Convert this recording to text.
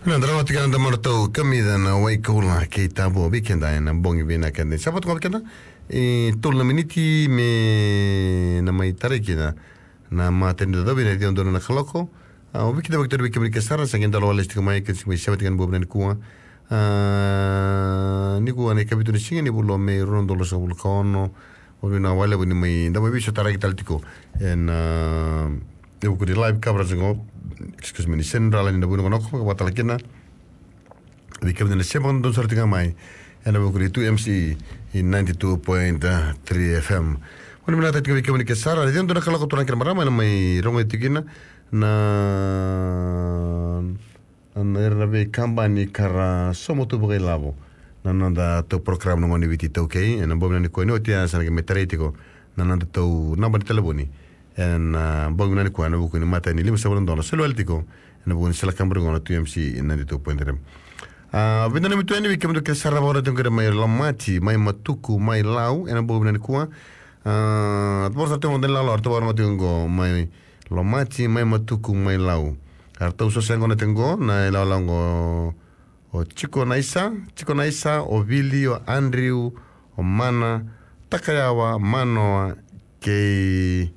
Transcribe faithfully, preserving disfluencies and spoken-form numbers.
Na drau tiko na domo ratou kamica na Waikula kei Tabo vei keda ena bogi vinaka keda. Sa vata vei keda e tolu na miniti me na mai tarai kina na matani da dovi na ciwa donu na kaloko. A, o vei keda vakitari vei kemuni ke sara sa qai dalo walesi tiko mai ke si mai sewa tiko na bogi vinaka nikua. A, nikua na ikavitu ni siga ni vula o Me rua na udolu ruasagavulu ka ono. O vei na wale vuni mai da mai viso taraki tale tiko ena e vuku ni live coverage qo, excuse me, ni Central ni na vunakonoko ka vatala kina. Vei kemuni na sema donu sara tiko mai ena vuku ni two M C E ninety-two point three F M. Vuni vinaka tiko vei kemuni ke sara ni donu na kaloko turaga kei na marama ena mai rogo tiko kina na na ira na veikabani ka ra sauma tu vakailavo na noda tou program na Gone Viti Taukei ena bogi vinaka nikua ni oti a sa na qai mai tarai tiko na noda tou naba ni talevoni ena bogi vinaka nikua ena vuku ni matai ni lima sagavulu na dola soli wale tiko ena vuku ni sala kabari gona two M C ninety-two point three. A, vinaka na mitu yani vei kemudou kei sara vakarau tiko qori mai Lomati, mai Matuku, mai Lau ena bogi vinaka nikua. A, voro sa tiko dani lalo, tiko voro tiko qo mai Lomati, mai Matuku, mai Lau. Ka ratou so se gona tiko qo na ilawalawa qo o Tiko Naisa, Tiko Naisa, o Vili, o Andrew, o Mana, Takayawa, Manoa, kei